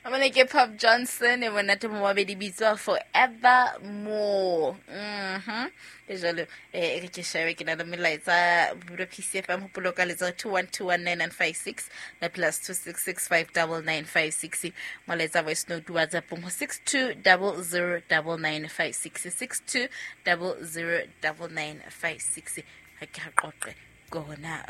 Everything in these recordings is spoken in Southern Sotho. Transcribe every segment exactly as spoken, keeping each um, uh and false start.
Mone ke Pop Johnson e monate mo mabedi bitswa Forever More. Mhm. Ke jalo eh re ke shebe ke na le melaetsa bulo P C F M hopolo ka letsa two one two one nine nine five six la plus two six six five double nine five six. Molaetsa voice note WhatsApp ho six two double zero double nine five six, six two double zero double nine five six. Ha ke re qoqe gona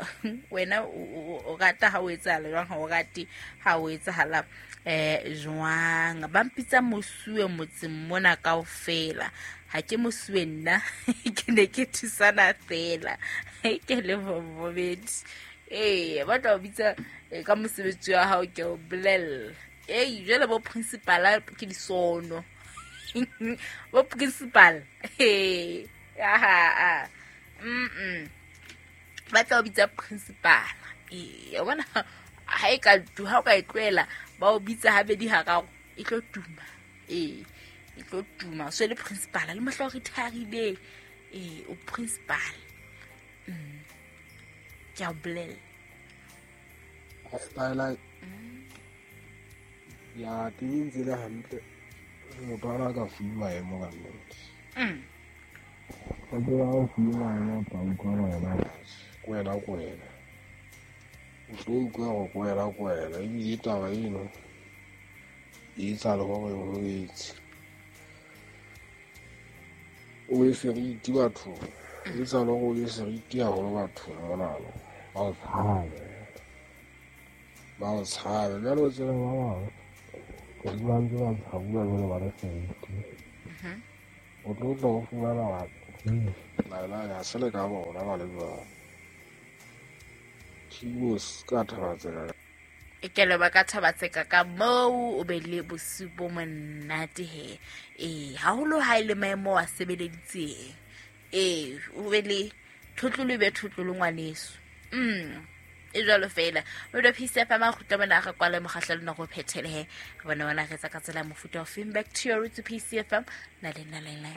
wena o rata ha o etsahala jwang, ha o rate ha o etsahala eh jwang. Ba mpitsa mosuwe motseng mona kaofela, ha ke mosuwe nna ke ne ke thusana fela ke le bobedi. Eh ba tla o bitsa ka mosebetsi wa hao ke o bolella. Eh jwale bo principal ke disono bo principal eh aha mm ba tla o bitsa principal. Eh wa bona ha e ka tu ha o ka e tlohela ba o bitsa habedi hararo e tlo tuma. Eh e tlo tuma so le principal le mohla o retirile eh o principal. Mm ke a bolella style ya teng tsela hantle motho ana ka fuwa maemo ka nnete. Mm o tseba o fuwa maemo tsa utlwa wena kwena kwena o tlo utlwa go kwena kwena ebile taba eno e etsa le gore o etse o e seriti bathong, e etsa le gore o e seriti haholo bathong monana ba o tshabe ba o tshabe jwale o tsebe ba bangwe o ba ntse ba tshabuwa jwale ba le seriti o tlo tla o fumana batho laela ya se le ka bona ba le jwalo. Tshibos ka Thabatseka. E ke le ba ka Thabatseka ka moo o be le bosiu bo monate he. Eh haholo ha ile maemo a sebeleditseng. Eh o be le thotlolo be thotlolo ngwaneso. Mm e jwalo fela. O do P C F M a kgutla bona re kwale mokgahlelo nako o phethele he. Re bona bona re tsa ka tsela mofuta o feng. Back to your roots P C F M na le na le na.